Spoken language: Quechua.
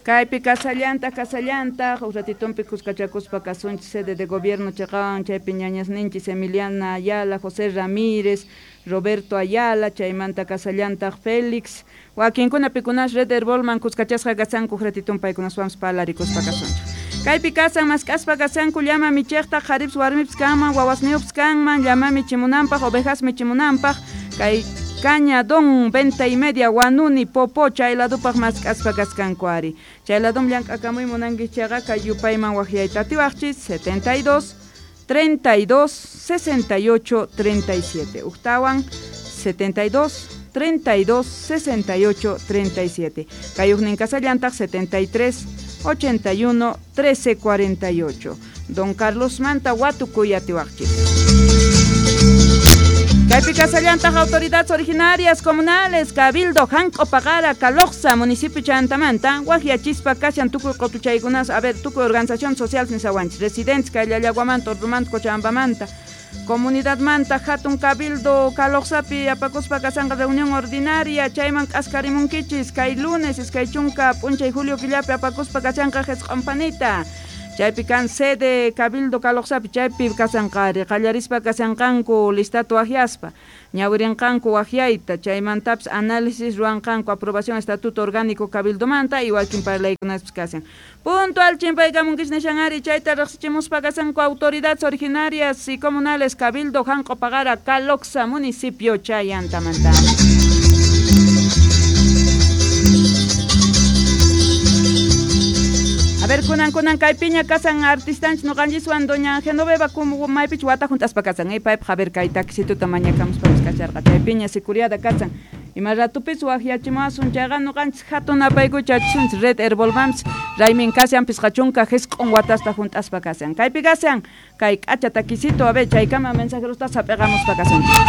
Kaypi kasallantaq kasallantaq huk ratitunpi kuskachakuspa kasunchis sede de gobierno chiqawan chaypi ñañasninchis Emiliana Ayala, José Ramírez, Roberto Ayala, chaymanta kasallantaq Félix, wakinkuna pikunas Red Herbolman kuskachasqa kasanku huk ratitun paykunaswanpas parlarikuspa kasunchik. Kaypi kasan mask'aspa kasanku llama michiqta qharipas warmipas kanman wawasniyuqpas kanman llama michimunanpaq ovejas michimunanpaq kay Caña Don Venta y Media Wanuni Popo chay ladupaq mask'aspa kaskanku ari. Chay ladum llank'akamuy munanki chayqa kay yupayman waqyayta atiwaqchis 72 32 68 37 uktawan 72 32 68 37 kay huknin kasallantaq 73 81 13 48 Don Carlos Manta watukuy atiwaqchis. Kaypi kasallantaq autoridades originarias comunales Cabildo Janco Pagara Caloxa municipio Chantamanta waqyachispa kashan tukuy qutuchaykunas a ver tukuy organización social nisawanchis residentes kay Llallaguamanta Ordumanta Cochabambamanta comunidad manta hatun Cabildo Caloxapi apakuspa kasanqa reunión ordinaria chayman k'askarimunkichis kay lunes iskay chunka p'unchay julio killapi apakuspa kashanqa qisq'unpanita chaypi kan sede Cabildo Caloxapi chaypi kasanqari qallarispa kasanqanku listatu waqyaspa ñawirinqanku waqyayta chaymantapis análisis ruwanqanku aprobación estatuto orgánico Cabildomanta y wakin parlaykunaspas kasan puntual chimpaykamunkis nishanari chayta riqsichimuspa kasanku autoridades originarias y comunales Cabildo Janco Pagara Caloxa municipio Chayantamanta. A ver, kunan kunan kaypiña kasan artistanchis ñuqanchiswan doña Genoveva como maypich wata juntaspa kasan paypaq a ver kay taquisituta mañakamuspapas kasharqa chaypiña sicuriada kasan ima ratupis waqyachimuwasun chayqa ñuqanchis hatun apaykuchachisunchis Red Herbolmams raymin kashan pisqa chunka qisq'un watasta junt'aspa kasan kaypi kasan kay k'acha taquisito a ver chaykama mensajerosta hap'iqamuspa kasunchis.